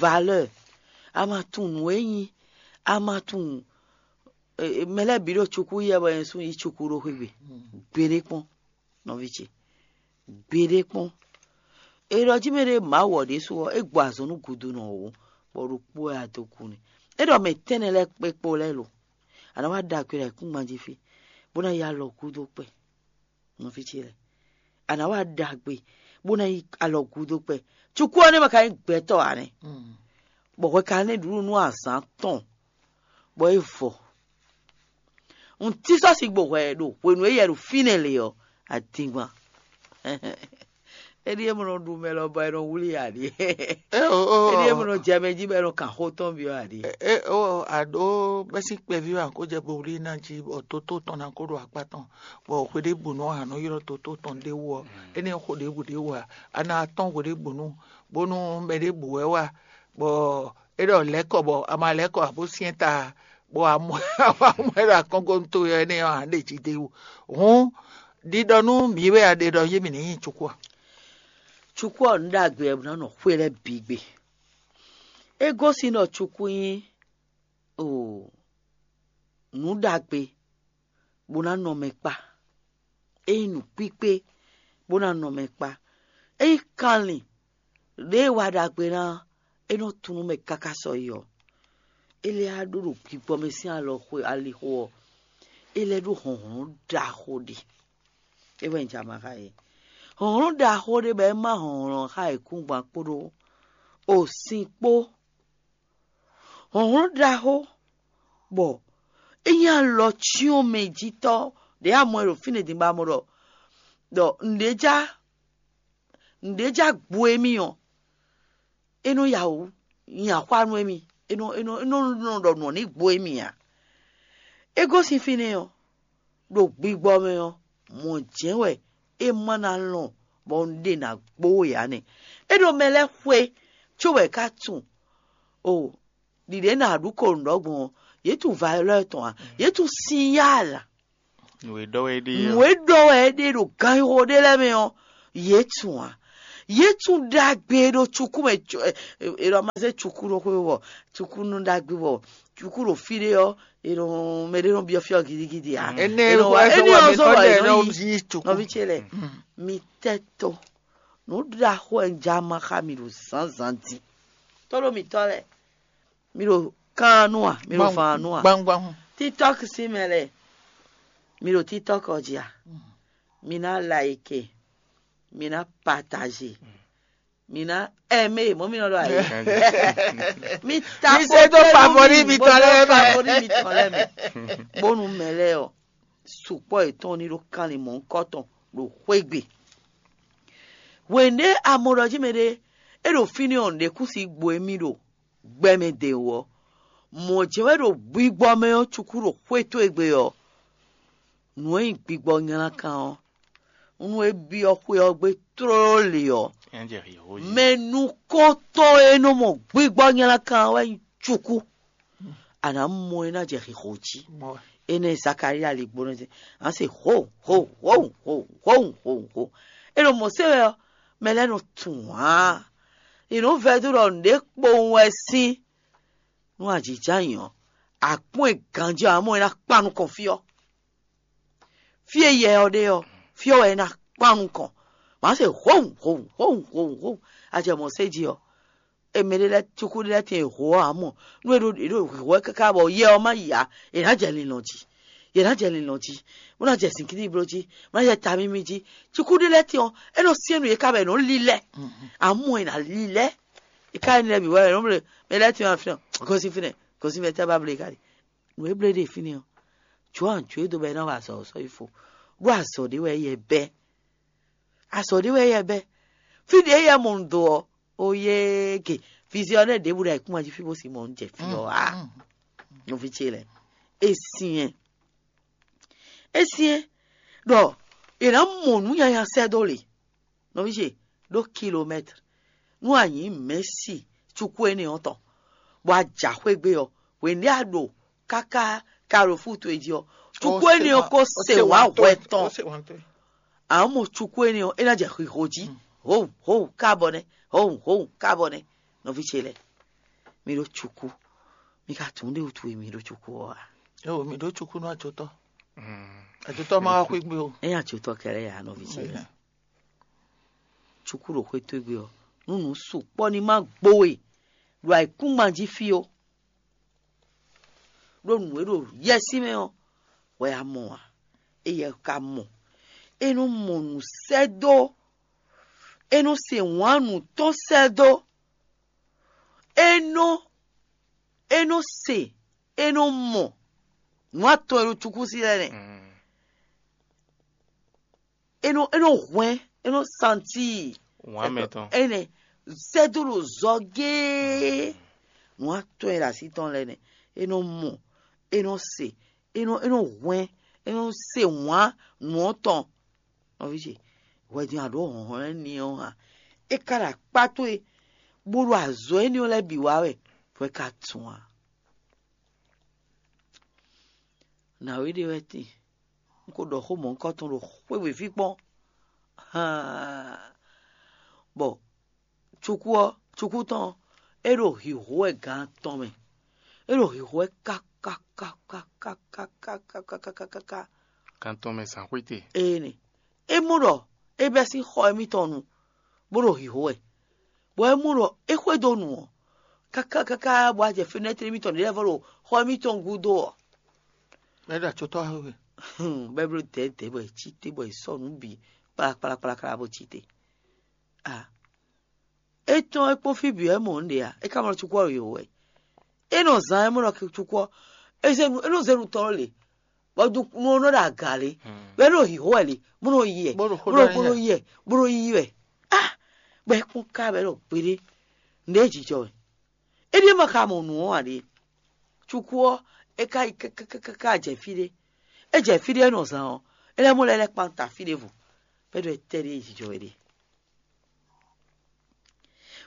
valeur, a ma tunwun nǔ e nyí, a ma tunwun mɛ lɛ́ɛ bǐ ɖo cukú yɛ bɔ nyɛ sú yí cukú ɖó xwé gbe. Gbeɖé kpɔ́n, nɔví ce, gbeɖé kpɔ́n. È ɖɔ jí mɛ ɖé Mawu ɔ́ ɖésú ɔ́, é gbɔ azɔn nú gudu nɔ wǒ, bɔ ɖokpó wɛ a dó kú n'i. É ɖɔ mɛ tɛ́nnɛ lɛ́ɛ kpé kpó lɛ́ɛ lo, a nǎ wá ɖagbe ɖo ayǐkúngban jí fí, bó ná yi alɔ gúdo kpɛ. Nɔví ce lɛ́ɛ, a nǎ wá ɖagbe, bó ná yi alɔ gúdo kpɛ. Cukú ɔ́ nɛ́ ma ka nyí gbɛtɔ́ ǎ nɛ́, bɔ hwɛ ka nɛ́ ɖuɖu nú azǎn tɔn, bɔ é vɔ. Un tí sɔ́ sigbo hwɛ ɖo hwenu e yɛ ɖo fínɛ́ lě ɔ́, adingban. Éɖíe mɔ nɔ ɖu mɛ lɔ bɔ è nɔ wlí ǎ ɖíe. Éɖíe mɔ nɔ jɛ mɛ jí bɔ è nɔ kan xó tɔn byɔ́ ǎ ɖíe. Aɖó bɛ́sín kpɛví wɛ kó jɛ bo wlí ná jí bɔ tótó tɔn ná kó ɖo akpá tɔn, bɔ hweɖěbǔnu ɔ́ a nɔ ylɔ́ tótó tɔn ɖ'é wú ɔ́, énɛ́ xó ɖěbǔ ɖ'é wú ǎ. A ná tɔ́n hweɖěbǔnu bónú mɛ ɖěbǔ wɛ wá, bɔ é ɖɔ lɛ̌kɔ bɔ a ma lɛ̌kɔ ǎ bó syɛ́n ta, bɔ a mɔ ɛ ɖo akɔ́nkɔ́nútó ɔ́ énɛ́ ɔ́ ǎ ɖe jí d'é wú. Hǔn ɖiɖɔ nú mǐ wɛ a ɖe ɖɔ yé mǐ ní nyi cukú a? Cukú ɔ́ nǔ ɖagbe wɛ bó ná nɔ xwé lɛ́ɛ bǐ gbe. É gosín ɖɔ cukú nyí nǔ ɖagbe bó ná nɔ mɛ kpá. É nyí nǔkpíkpé bó ná nɔ mɛ kpá. É nyí kanlin ɖěe wa ɖagbe ná é nɔ tunú mɛ káká sɔyi ɔ́. É lɛ́ á ɖó ɖo gbígbɔ mɛ sín alɔ xwe alixo ɔ́, é lɛ́ ɖó hlɔ̌nhlɔ́n ɖaxó ɖé. É wɛ un jɛ ama xá yě. Hlɔ̌nhlɔ́n ɖaxó ɖé bɔ é má hlɔ̌nhlɔ́n xá yěkúngban kpódó osin kpó. Hlɔ̌nhlɔ́n ɖaxó bɔ é nyí alɔ cyɔ́n mɛ jí tɔ́ ɖě a mɔ ɛ ɖo fínɛ́ din bɔ a mɔ ɖɔ ɖɔ nǔɖé já nǔɖé já gbo émí ɔ́, é nɔ ya wǔ nyi axwá nú émí, é nɔ é nɔ é nɔ nɔ ɖɔ nǔ ɔ́ ní gbo émí ǎ. É gosín fínɛ́ ɔ́, ɖo gbigbɔ mɛ ɔ́, mɔ̌ jɛ́n wɛ é ma ná lɔn bɔ un ɖe nǎ gbó we ǎ nɛ́. É ɖo mɛ lɛ́ɛ xwe cóbɔ è ká tunwun o ɖiɖě nǎ ɖu ko nǔ ɖɔ gbɔn ɔ́, yě tunwun valeur tɔn ǎ, yě tunwun sinyál. Nǔ e ɖɔ wɛ é ɖe nǔ e ɖɔ wɛ é ɖe ɖo ganxixo ɖé lɛ́ɛ mɛ ɔ́, yě tunwun ǎ. Yě tunwun ɖagbe ɖo cukú mɛ. È ɖɔ ma zé cukú ɖó xwé wɔ, cukú nú ɖagbe wɔ, cukú ɖo fí ɖé ɔ́, è nɔ mɛ ɖé nɔ byɔ́ fí ɔ́ gidigidi ǎ. Énɛ́ ɔ́ zɔ́ wɛ è nɔ yi cukú. Nɔví ce lɛ́ɛ, mi tɛ́ tó. Nǔ ɖaxó wɛ un jɛ ama xá mi ɖo zǎnzǎn din. Tóɖó mǐtɔn lɛ́ɛ, mi ɖo kan nú a? Mi ɖo fan nú a? Gbangban. Hun. TikTok sín mɛ lɛ́ɛ, mi ɖo TikTok ɔ́ jí a? Mi ná like, mi ná partage, mi ná aimé, mɔ̌ mi nɔ ɖɔ ayé. Mi ta mi se tó favori mi tɔn lɛ́ɛ mɛ. Favori mi tɔn lɛ́ɛ mɛ. Bónú mɛ lɛ́ɛ ɔ́, sukpɔ́ yětɔn ní ɖó kanlin mɔ̌hunkɔtɔn ɖo xwé gbe. Hwenu ɖé a mɔ ɖɔ jí mɛɖé é ɖo fínɛ́ ɔ́, nǔɖé kún si gbo émí ɖo gbɛ mɛ dɛ̌n wú ɔ́, mɔ̌ jɛ́n wɛ ɖo gbigbɔ mɛ ɔ́ cukú ɖo xwé towe gbe ɔ́, nǔ e nyí gbigbɔ nylá kan ɔ́, nú é byɔ́ xwé ɔ́ gbe tlóló lě ɔ́, mɛ nukɔntɔn e nɔ mɔ gbigbɔ nylá kan ɔ́ wɛ nyí cukú. A nǎ mɔ é ná jɛ xixo jí. Énɛ́ Zakalía li gbónɔ dín, a nǎ se ho ho ho ho ho ho ho. É ɖo mɔ̌ se wɛ ɔ́, mɛ lɛ́ɛ nɔ tunwun ǎ. È nǔ vɛdó ɖɔ nǔɖé kpowun wɛ sín nú ajǐjǎnyi ɔ́, a kpɔ́n ɛ ganjí ɔ́, a mɔ é ná kpan nukɔn fí ɔ́. Fí e yɛ ɔ́ ɖe ɔ́, fí ɔ́ wɛ é ná kpan nukɔn. Mǎ se howun howun howun howun howun. A jɛ mɔ̌ se jí ɔ́, Mɛ ɖé lɛ́ɛ cukú ɖé lɛ́ɛ tɛn e hǒ ɔ́ ǎ mɔ, nú è ɖo è ɖo hǐhó wɛ káká bɔ yɛ ɔ́ má yi ǎ, è nǎ jɛ linlɔn jí. Yě ná jɛ linlɔn jí, bó ná jɛ zǐngídi bló jí, bó ná jɛ tamímí jí. Cukú ɖé lɛ́ɛ tɛn ɔ́, é nɔ syɛ́n nú yě ká bɔ è nɔ́ lílɛ́. Amú è nǎ lílɛ́. È ká énɛ́ lɛ́ɛ bǐ wɛ è nɔ́ bló. Mɛ lɛ́ɛ tɛn ɔ́, fínɛ́, gosín fínɛ́, gosín fínɛ́, tɛ́ bá bló yě ká ɖi. Nǔ e bló é ɖe fínɛ́ ɔ́, jǒ anjǒ e dó bɔ é ná wa azɔ̌ ɔ́ sɔ́ yi fo, ɖó azɔ̌ ɖé wɛ éyɛ́ bɛ́. Azɔ̌ ɖé wɛ éyɛ́ bɛ́. Fí ɖě éyɛ́ mɔ un dó ɔ́, ó yéé ge. Vizyɔnɛ́ ɖěbǔ ɖo ayǐkúngban jí fí bó sin mɔ un jɛ fí ɔ́ ǎ. Nɔví ce lɛ́ɛ, é syɛ́n. É syɛ́n ɖɔ è nǎ mɔ nǔ nyanya sɛ́ dó lě. Nɔví ce, ɖó kilomɛ́tr. Nú a nyǐ mɛ̌si cukú énɛ́ ɔ́ tɔn, bɔ a jǎ xwé gbé ɔ́, hwěndé a ɖo káká kalofú towe jí ɔ́, cukú énɛ́ ɔ́ ko se wǎ hwɛ tɔn. Amɔ̌ cukú énɛ́ ɔ́, é ná jɛ xixo jí. Hǒun hǒun kábɔ nɛ́, hǒun hǒun kábɔ nɛ́. Nɔví ce lɛ́ɛ, mi ɖó cukú, mi ka tunwun ɖé wútu e mi ɖó cukú ɔ́ ǎ. Éwo mi ɖó cukú nú ajotɔ́. Ajotɔ́ ma wá xwé gbé o. É nyí ajotɔ́ kɛlɛ ya, nɔví ce lɛ́ɛ. Cukú ɖo xwé towe gbe ɔ́, nú nǔ sukpɔ́ ní ma gbo we ɖo ayǐkúngban jí fí ó. Ɖó nǔ e ɖo yɛsí mɛ ɔ́, hwɛ a mɔ ǎ, éyɛ́ ka mɔ. É nɔ mɔ nǔ sɛ́ dó, é nɔ se wǎn nǔ tɔn sɛ́ dó, é nɔ é nɔ se, é nɔ mɔ nǔ atɔn e ɖo cukúsi lɛ́ɛ nɛ́. É nɔ é nɔ hwɛ́n, é nɔ santíi. Wǎn mɛ tɔn. Énɛ́ sɛ́ dó ɖo zɔ géé. Nǔ atɔn e ɖo así tɔn lɛ́ɛ nɛ́. É nɔ mɔ, é nɔ se, é nɔ é nɔ hwɛ́n, é nɔ se wǎn nǔ ɔ́ tɔn. Nɔví ce, hwɛ din a ɖǒ hlɔ̌nhlɔ́n n'i ɔ́ hǎn. É ka ɖo akpá towe, bó ɖo azɔ̌ énɛ́ ɔ́ lɛ́ɛ bǐ wa wɛ, hwɛ ka tun ǎ. Nǎwe ɖé wɛ tíin, un ko ɖɔ xó mɔ̌hunkɔtɔn ɖo xwé wěví kpɔ́n. Haan, bɔ cukú ɔ́, cukú tɔn ɔ́, é ɖo hǐhó wɛ gan atɔn mɛ. É ɖo hǐhó wɛ kákákákákákákákákákáká. Gan atɔn mɛ zǎn xwíte. Énɛ́. É mɔ ɖɔ é bɛ́ sín xɔ émítɔn nu, bó ɖo hǐhó wɛ, bɔ é mɔ ɖɔ é xwedó nu ɔ́, kákákáká bɔ a jɛ fenɛ́tri émítɔn ɖě lɛ́ɛ vɔ ɖo xɔ émítɔn gúdo ɔ́. Mɛ ɖo acotɔ́ xwe. Bɛ́ bló dɛ̌dɛ̌ bɔ è cí te bɔ è sɔ́ nǔ bǐ kplakplakplakpla bó cí te. A é tɔ́n é kpɔ́n fí bǐ wɛ mɔ nǔ ɖe ǎ, é ka mɔ cukú ɔ́ ɖo yǒ wɛ. É nɔ zán é mɔ ɖɔ cukú ɔ́, é zé nu é nɔ zé nu tɔn lě, bɔ nu ɔ́ nɔ ɖo aga lě, bɔ é nɔ hǐhó wɛ lě, bó nɔ yi wɛ, Bó ɖo xó bó ɖɔ nɔ bó nɔ yi wɛ, bó nɔ yi wɛ. A bɔ é kpɔ́n ká bɔ é ɖɔ gbeɖé, nǔɖé jijɔ wɛ. É ɖíe ma ka mɔ nǔ ɔ́ ǎ ɖe. Cukú ɔ́, é ka yi káká jɛ fí ɖé. É jɛ fí ɖé é nɔ zán ɔ́, é lɛ́ mɔ lɛ́ lɛ́ kpan ta fí ɖěvo, bɔ é ɖɔ étɛ́ ɖíe jijɔ wɛ ɖe.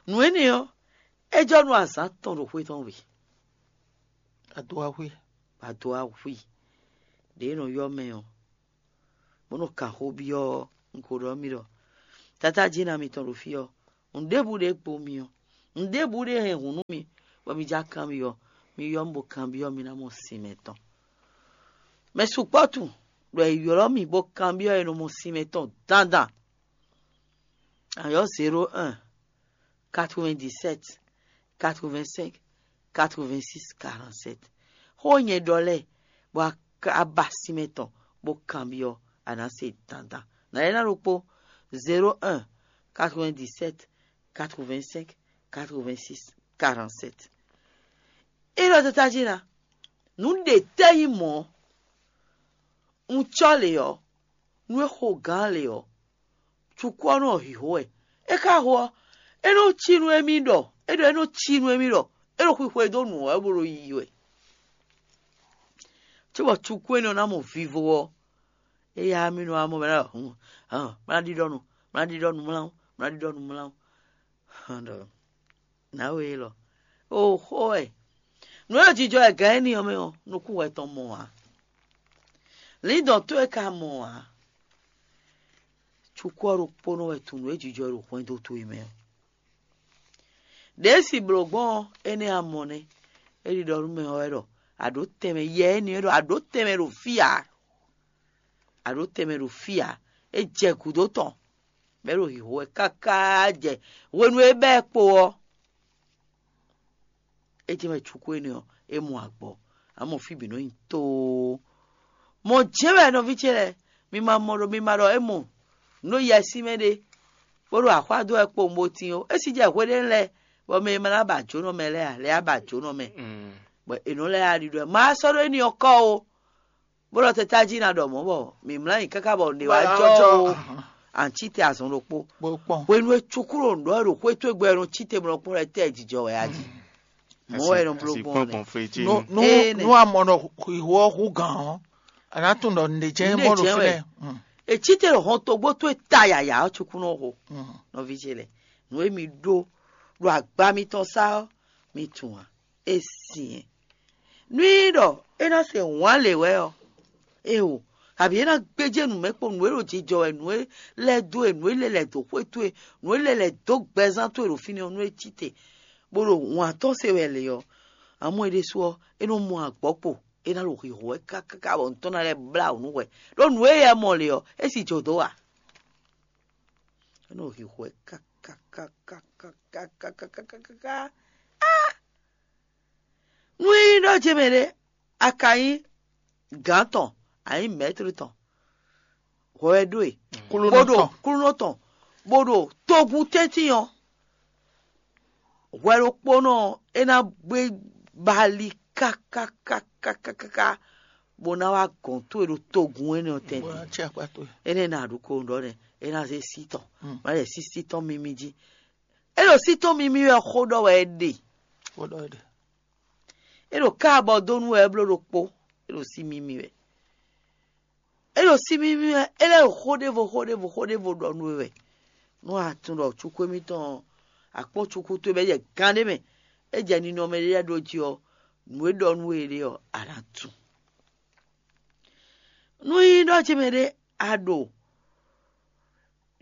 Nǔ énɛ́ ɔ́, é jɔ nú azǎn tɔn ɖo xwé tɔn wě. Adowaxwé. Adowaxwé ɖě e nɔ ylɔ́ mɛ ɔ́, bó nɔ kan xó byɔ́ ɔ́, un ko ɖɔ nú mi ɖɔ, Tatá Jina mitɔn ɖo fí ɔ́, nǔɖěbǔ ɖě gbo mi ɔ́, nǔɖěbǔ ɖě hɛn hǔn nú mi, bɔ mi já kanbyɔ́, mi ylɔ́ mì bó kanbyɔ́, mi ná mɔ sin mɛtɔn. Mɛ sukpɔ́ tunwun ɖɔ è ylɔ́ mì bó kanbyɔ́ è nɔ mɔ sin mɛtɔn dandan. Ayɔ́ zéro un, quatre-vingt-dix-sept, quatre-vingt-cinq, quatre-vingt-six, quarante-sept. Xó nyɛ ɖɔ lɛ́ɛ, bɔ a ba sin mɛtɔn bó kanbyɔ́, a nǎ se dandan. Nǎ lɛ́ ná ɖokpó, zéro un, quatre-vingt-dix-sept, quatre-vingt-cinq, quatre-vingt-six, quarante-sept. É ɖɔ Tatá Jina, nǔ ɖě tɛ́ nyí mɔ̌, un cɔ́ lě ɔ́, nú é xo gǎn lě ɔ́, cukú ɔ́ nɔ hǐhó wɛ. É ka ho ɔ́, é nɔ cí nú émí ɖɔ é ɖɔ é nɔ cí nú émí ɖɔ é ɖo xwixwe dó nǔ ɔ́ wɛ bó ɖo yiyi wɛ. Cóbɔ cukú énɛ́ ɔ́ ná mɔ vivo ɔ́, éyá mì nɔ wá mɔ mɛ ɖɔ hǔn, hǎn, má ná ɖiɖɔ nu, má ná ɖiɖɔ nu mlá, má ná ɖiɖɔ nu mlá. Hǎn ɖɔ nǎwe élɔ́, oxó wɛ. Nǔ e jijɔ wɛ gǎn énɛ́ ɔ́ mɛ ɔ́, nukún wɛ tɔn mɔ ǎ. Lǐndɔ̌n towe ka mɔ ǎ. Cukú ɔ́ ɖokpónɔ wɛ tunwun nǔ e jijɔ ɖo hwɛndo towe mɛ ɔ́. Ɖěe si blǒ gbɔn ɔ́, énɛ́ a mɔ nɛ́. É ɖiɖɔ nú mɛ ɔ́ wɛ ɖɔ, a ɖǒ tɛnmɛ yɛ énɛ́ ɔ́ ɖɔ, a ɖǒ tɛnmɛ ɖo fí ǎ. A ɖǒ tɛnmɛ ɖo fí ǎ. É jɛ gǔdo tɔn, bɔ é ɖo hǐhó wɛ káká jɛ hwenu e é bɛ́ ɛ kpo ɔ́. É jɛ́n wɛ cukú énɛ́ ɔ́, é mɔ agbɔ. Amɔ fí bǐ nɔ nyi tóó. Mɔ̌ jɛ́n wɛ nɔví ce lɛ́ɛ, mi ma mɔ ɖɔ mi ma ɖɔ é mɔ nǔ e yɛ sín mɛ ɖé, bó ɖo axwá dó wɛ kpowun bó tín ó. É si jɛ hweɖénu lɛ́ɛ, bɔ mɛ e ma ná ba jǒnɔ mɛ lɛ́ɛ ǎ, lɛ́ɛ á ba jǒnɔ mɛ, bɔ è nɔ lɛ́ yá ɖiɖɔ ɛ. Ma sɔ́ ɖó éní ɔ́ kɔ ó, bó ɖɔ tɛ́ tájí ná ɖɔ mɔ̌ bɔ mǐ mlá nyi káká bɔ nǔ wá jɔ ó. Ǎ, cí te azɔn ɖokpó. Hwenu e cukú ɖo nǔ ɖɔ wɛ ɖo xwé towe gbɔ, è nɔ cí te bó nɔ kpɔ́n ɖɔ tɛ́ jijɔ wɛ a jí. Mɔ̌ wɛ è nɔ bló gbɔn lɛ. Nú nú amɔ nɔ xixo ɔ́ hú gǎn ɔ́, a nǎ tunwun ɖɔ nǔɖé jɛ́n mɔ ɖo fínɛ́. È cí te ɖo hɔntogbó towe ta yǎyá ɔ́ cukú nɔ xo. Nɔví ce lɛ́ɛ, nǔ e mi ɖó ɖo agba mitɔn sá ɔ́, mi tunwun ǎ. É sin ɛ. Nú nyí ɖɔ é ná se wǎn lě wɛ ɔ́, éeǒ, abǐ é ná gbéjé nǔ mɛ kpó nǔ e ɖo jijɔ wɛ, nǔ e lɛ́ dó e, nǔ e lɛ́ lɛ̌ dó xwé towe, nǔ e lɛ́ lɛ̌ dó gbɛzán towe ɖo fínɛ́ ɔ́, nú é cí te, bó ɖo wǎn tɔn se wɛ lě ɔ́, amɔ̌ é ɖésú ɔ́, é nɔ mɔ agbɔ̌ kpo, é ná ɖo hǐhó wɛ káká bɔ nǔ tɔn ná lɛ́ blá wǔ nú hwɛ. Ɖó nǔ e yɛ mɔ lě ɔ́, é sì jǒ dó a? É nɔ hǐhó wɛ káká. Nú é nyí ɖɔ ce mɛ ɖé, a ka nyí gǎn tɔn, a nyí mɛ̌tri tɔn, hwɛ wɛ ɖó e, bó ɖo kúlúnɔ tɔn, bó ɖo togun tɛ́ntin ɔ́, hwɛ ɖokpónɔ ɔ́, é ná gbé bali káká, bó ná wá gɔ̌n towe ɖo togun énɛ́ ɔ́ tɛ́ntin. Énɛ́ ná ɖu ko ɖɔ nɛ́, é ná zé sí tɔn, má lɛ sí sí tɔn mímí jí. É ɖo sí tɔn mímí wɛ xó ɖɔ wɛ é ɖe. É ɖo ká abɔ dó nú wɛ é bló ɖokpó. É ɖo sí mímí wɛ. É ɖo sí mímí wɛ, é lɛ́ ɖo xó ɖěvo xó ɖěvo xó ɖěvo ɖɔ nú we wɛ. Nú a tunwun ɖɔ cukú émítɔn ɔ́, a kpɔ́n cukú towe bɔ é jɛ gan ɖé mɛ, é jɛ ninɔmɛ ɖé lɛ́ɛ ɖó jí ɔ́, nǔ e ɖɔ nú we é ɖe ɔ́, a nǎ tunwun. Nú nyí ɖɔ ce mɛ ɖé a ɖo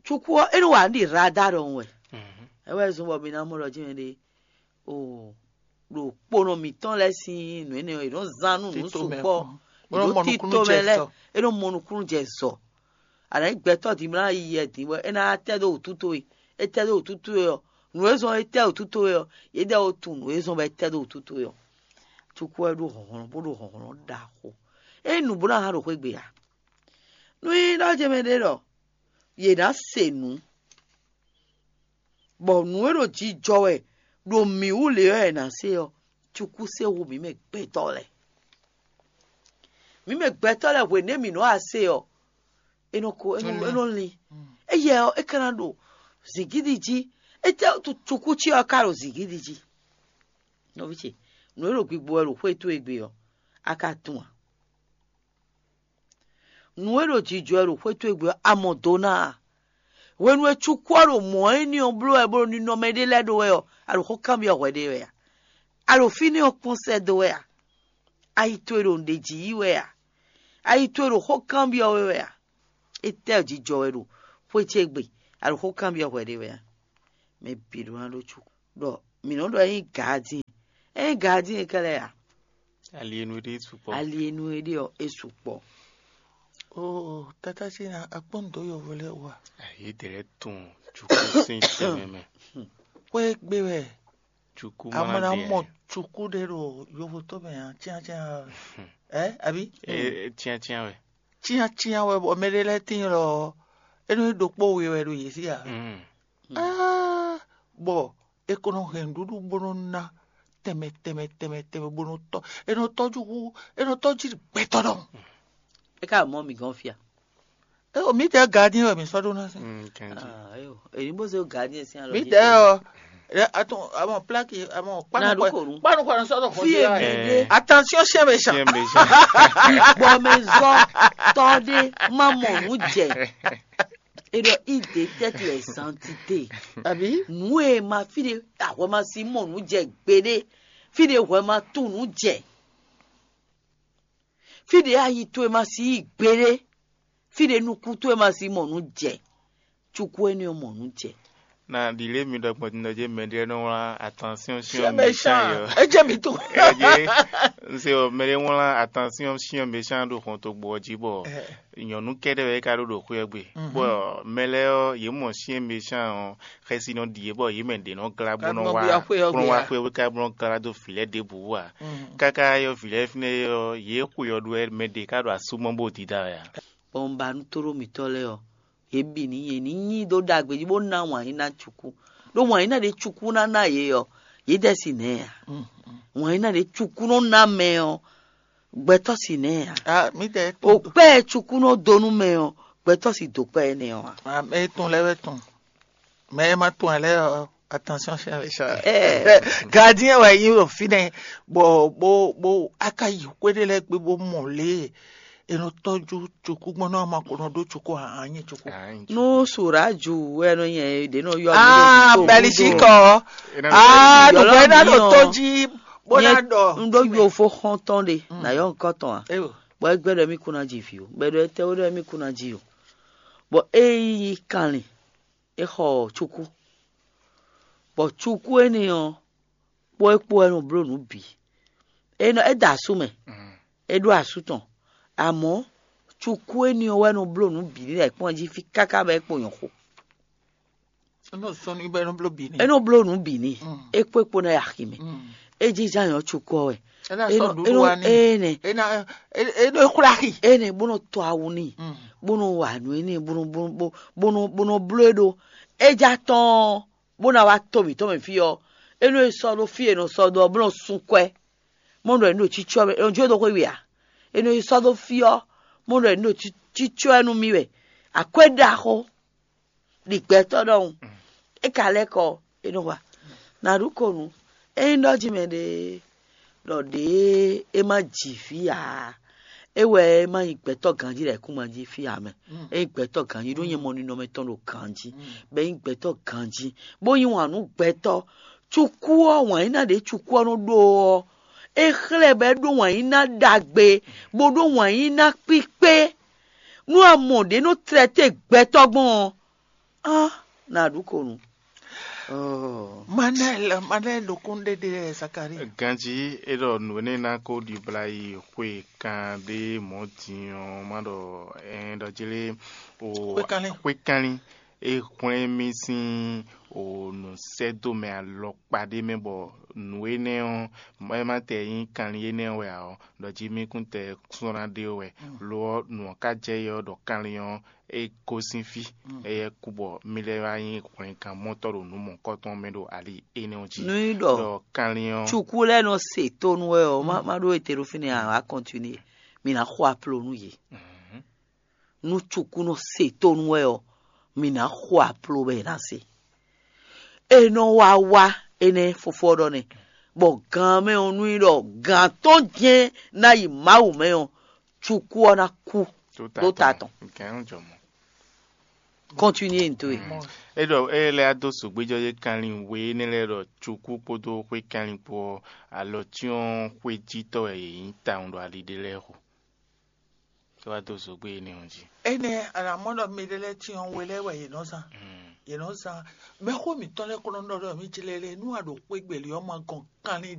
cukú ɔ́, é nɔ wa nǔ ɖi radar ɖɔhun wɛ. É wɛ zɔ́n bɔ mi ná mɔ ɖɔ ce mɛ ɖé o ɖo kponɔ mǐtɔn lɛ́ɛ sín nǔ énɛ́ ɔ́, è nɔ́ zán nú nǔ sukpɔ́, è nɔ́ tito mɛ lɛ́ɛ, é nɔ́ mɔ nukúnnú jɛ zɔ. A nǎ nyí gbɛtɔ́ din bó ná yi yɛ din bɔ é ná tɛ́ dó wǔtu towe. É tɛ́ dó wǔtu towe ɔ́, nǔ e zɔ́n é tɛ́ wǔtu towe ɔ́, yědɛɛ ó tunwun nǔ e zɔ́n bɔ é tɛ́ dó wǔtu towe ɔ́. Cukú wɛ ɖó hlɔ̌nhlɔ́n bó ɖo hlɔ̌nhlɔ́n ɖaxó. Ényí nǔ bó ná hán ɖo xwé gbe ǎ. Nú nyí ɖɔ ce mɛ ɖé ɖɔ yě ná se nǔ, bɔ nǔ e ɖo jijɔ wɛ ɖo mǐ wú lě ɔ́ è nǎ se ɔ́, cukú se hú mǐ mɛ gbɛtɔ́ lɛ́ɛ. Mǐ mɛ gbɛtɔ́ lɛ́ɛ hwěnɛ́ mǐ nɔ wá se ɔ́, é nɔ ko é nɔ é nɔ lin. Éyɛ ɔ́, é ka ná ɖo zǐngídi jí. Étɛ́ cukú ce ɔ́ ka ɖo zǐngídi jí? Nɔví ce, nǔ e ɖo gbigbo wɛ ɖo xwé towe gbe ɔ́, a ka tunwun a? Nǔ e ɖo jijɔ wɛ ɖo xwé towe gbe ɔ́, a mɔ do ná a? Hwenu e cukú ɔ́ ɖo mɔ̌ énɛ́ ɔ́ bló wɛ bó ɖo ninɔmɛ ɖé lɛ́ɛ ɖó wɛ ɔ́, a ɖo xó kanbyɔ́ hwɛ ɖé wɛ a? A ɖo fínɛ́ ɔ́ kpɔ́n sɛ́ dó wɛ a? Ayi towe ɖo nǔɖé jí yí wɛ a? Ayi towe ɖo xó kanbyɔ́ we wɛ a? Étɛ́ jijɔ wɛ ɖo xwé ce gbe, a ɖo xó kanbyɔ́ hwɛ ɖé wɛ a? Mɛ bǐ ɖó ná ɖó cukú. Ɖɔ mǐ nɔ ɖɔ é nyí gaadín. É nyí gaadín e kɛ́ lɛ́ɛ a? Ali e nu e ɖe sukpɔ́. Ali e nu e ɖe ɔ́, é sukpɔ́. Oo, tata ce ná akpɔ́n dó yɔvo lɛ́ɛ wú a? Ayédèrɛ tun cukú sín tɛnmɛ mɛ. Xwé gbe wɛ. Cukú a mɔ ná mɔ cukú ɖé ɖo yovo tó mɛ a? Tíantían ɛ, abi? Tíantían wɛ. Tíantían wɛ bɔ mɛ ɖé lɛ́ɛ tíin lɔ, é nɔ ɖokpó we wɛ ɖo yě sí a? Bɔ è ko nɔ hɛn nǔɖuɖu bó nɔ ná tɛnmɛ tɛnmɛ tɛnmɛ tɛnmɛ bó nɔ tɔ́, è nɔ tɔ́jú hú, è nɔ tɔ́jú gbɛtɔ́ ɖɔhun. É ka mɔ mǐ gɔ́n fia. É o mǐdɛɛ gardien wɛ mǐ sɔ́ ɖó ná sɛn. Èyí bó zé gardien sín alɔ. Mǐdɛɛ ɔ, atún, àwọn plaki, àwọn kpanu kpanu kpanu sɔ́ ɖo xɔjé. Attention, chien méchant. Bɔ mɛ zɔ tɔ ɖé má mɔ nǔ jɛ. E ɖɔ idée tête les entités. Abi? Nǔ e ma fí ɖe ahwɛ ma si mɔ nǔ jɛ gbeɖé. Fí ɖe hwɛ ma tunwun nǔ jɛ. Fí ɖě ayi towe ma si yi gbeɖé, fí ɖě nukún towe ma si mɔ nǔ jɛ, cukú énɛ́ ɔ́ mɔ nǔ jɛ. Na ɖi lě mi ɖɔ gbɔn din ɖɔ jɛ mɛ ɖé nɔ wlán attention sur méchant yɔ. É jẹ́ mi tó. Ɛ jẹ́, un se ɔ mɛ ɖé wlán attention sur méchant ɖo xɔn tó gbɔ jí bɔ nyɔ̌nu kɛ́ɖɛ́ wɛ é ka ɖó ɖo xwé ɔ́ gbe. Bɔ mɛ lɛ́ɛ ɔ́, yě mɔ sur méchant ɔ́, xɛsi nɔ ɖi yě bɔ yě mɛ ɖě nɔ glá bó nɔ wá bó nɔ wá xwé ɔ́ gbe ká bó nɔ glá dó vǐ lɛ́ɛ ɖěbǔ ǎ. Káká yɔ vǐ lɛ́ɛ fínɛ́ ɔ́, yě xwe ɔ́ ɖó wɛ mɛ ɖě ká ɖo asú mɔ bó dida wɛ ǎ. Bɔ un ba nú tóɖó mǐtɔn lɛ́ɛ ɔ́, yě bǐ ní yě ní nyi dó ɖagbe jí bó ná wǎn yí ná cukú. Ɖó wǎn yí ná ɖě cukú ná ná yě ɔ́, yě dɛ́ si nɛ̌ ǎ. Wǎn yí ná ɖě cukú nɔ ná mɛ ɔ́, gbɛtɔ́ si nɛ̌ ǎ. Ah, mi tɛ O kpɛ́ cukú nɔ dó nú mɛ ɔ́, gbɛtɔ́ si dó kpɛ́ énɛ́ ɔ́ ǎ. Ah, mɛ e tɔn lɛ́ɛ wɛ tɔn. Mɛ e ma tɔn ɛ lɛ́ɛ ɔ́, attention chien méchant. Gardien wɛ nyí ɖo fínɛ́, bɔ bó bó aka yi xwé ɖé lɛ́ɛ gbe bó mɔ lě e è nɔ tɔ́jú cukú gbɔn nɔ ama ko nɔ ɖó cukú a nyi cukú. Nú sùrájù wɛ nɔ nyɛ ɖě nɔ yɔ mì ɖo Ah, gúdo, Belgique gúdo. Ɔ. Ah, nùgbɛ ná ɖo tó jí bó ná Nyɛ ɖɔ. Un ɖó yovo xɔntɔn ɖe, na yɔ nkɔ tɔn a. Eyo. Bɔ egbe ɖɔ mi kuna dzi vi o. Bɛ ɖɔ etɛ wo ɖɔ mi kuna dzi o. Bɔ e yi kanlin, e xɔ cukú. Bɔ cukú énɛ́ ɔ́, kpó é kpó wɛ nɔ bló nǔ bǐ. É nɔ é da asú mɛ, é ɖó asú tɔn. Amɔ̌ cukú énɛ́ ɔ́ wɛ nɔ bló nǔ bǐ ní lɛ́ kpɔ́n jí fí káká bɔ é kpo nyɔ̌ xo. Nɔ sɔn ní bɛ nɔ bló bǐ ní. É nɔ bló nǔ bǐ ní. É kpó é kpó ná yi axi mɛ. É jínjɔ́n ayɔ́ cukú ɔ́ wɛ. É ná É sɔn nɔ- ɖuɖu é nɔ- wa ní. Ée nɛ. É ná é é é nɔ xwlá axi. Ée nɛ bó nɔ tɔ awu n'i, bó nɔ wa nǔ énɛ́, bó nɔ bó nɔ bó- bó nɔ bó nɔ bló é ɖó. É já tɔn bó ná wá to mǐtɔn mɛ fí ɔ́, é nɔ e sɔ́ ɖó fí e è nɔ sɔ́ dó ɔ́, bó nɔ sun kwɛ. Mɔ ɖɔ è nɔ ɖo cícɔ́ mɛ, è nɔ jó dó xwé we ǎ. È nɔ e sɔ́ dó fí ɔ́, mɔ ɖɔ è nɔ ɖo cí- cícɔ́ ɛ nú mì wɛ. Akwɛ́ ɖaxó ɖi gbɛtɔ́ ɖɔhun. É ka lɛ́ kɔ, é nɔ wa. Nǎ ɖu ko nǔ. Ényí ɖɔ jí mɛ ɖe ɖɔ ɖě é má ji vǐ ǎ, é wɛ é má nyí gbɛtɔ́ ganjí ɖo ayǐkúngban jí fí ǎ mɛ. É nyí gbɛtɔ́ ganjí ɖó nyɛ mɔ ninɔmɛ tɔn ɖo ganjí, bɔ é nyí gbɛtɔ́ ganjí, bó yí wǎn nú gbɛtɔ́. Cukú ɔ́, wǎn yíná ɖě cukú ɔ́ nɔ ɖó ɔ́, é xlɛ́ bɔ é ɖó wǎn yíná ɖagbe, bó ɖó wǎn yíná kpíkpé. Nú a mɔ ɖě nɔ tlɛ te gbɛtɔ́ gbɔn ɔ́, á nǎ ɖu ko nú. Manɛl, Manɛl ɖokún ɖé ɖe Zakalíi. Ganjí é ɖɔ nǔ énɛ́ ná kó ɖibla yi xwe kan ɖé mɔ̌ din ɔ́, má ɖɔ ɛn ɖɔ jlé o Xwékanlin. Xwékanlin é hwlɛ́n mì sín o nǔsɛ́dómɛ alɔkpa ɖé mɛ bɔ nǔ énɛ́ ɔ́, é má tɛ nyí kanlin énɛ́ ɔ́ wɛ ǎ ɔ́, ɖɔ jí mì kún tɛ sɔ́ ná ɖe wɛ. Lo ɔ́, nǔ ɔ́ ka jɛ yɛ ɔ́ ɖɔ kanlin ɔ́ é gosín fí, éyɛ́ kú bɔ mì lɛ́ wá nyí hwlɛngán mɔtɔ́ ɖo nǔ mɔ̌hunkɔtɔn mɛ ɖo ali énɛ́ ɔ́ jí. Nú í ɖɔ Ɖɔ kanlin ɔ́, cuku lɛ́ɛ nɔ se tónú wɛ ɔ́, má má ɖó ete ɖó fínɛ́ ǎ, wǎ kɔntinu. Mǐ ná xo aplo nú yě. Nú cuku nɔ se tónú wɛ ɔ́, mǐ ná xo aplo bɔ è nǎ se. È nɔ wá wá énɛ́ fofó ɔ́ ɖɔ nɛ́, bɔ gan mɛ ɔ́ nú í ɖɔ gan tɔn jɛ́n ná yi Mawu mɛ ɔ́, cuku ɔ́ ná kú ɖó ta tɔn. Gɛ̌n jɔ mɔ. Kɔntinu ntó e. É ɖɔ é lɛ́ dó sǒgbéjɔ́ yé kanlin we énɛ́ lɛ́ɛ ɖɔ cukú kpódó xwé kanlin kpó ɔ́, alɔ cyɔ́n xwéjítɔ́ wɛ yě nyí tawun ɖo ali ɖé lɛ́ɛ xo. É wá dó sǒgbé énɛ́ ɔ́ jí. Énɛ́, a nǎ mɔ ɖɔ mɛ ɖé lɛ́ɛ cyɔ́n we lɛ́ɛ wɛ yě nɔ zán. Yě nɔ zán. Mɛxó mǐtɔn lɛ́ɛ kɔn nɔ ɖɔ ɖɔ mí jlɛ́ lɛ́ɛ nú a ɖo xwé gbělí ɔ́ ma gɔn kanlin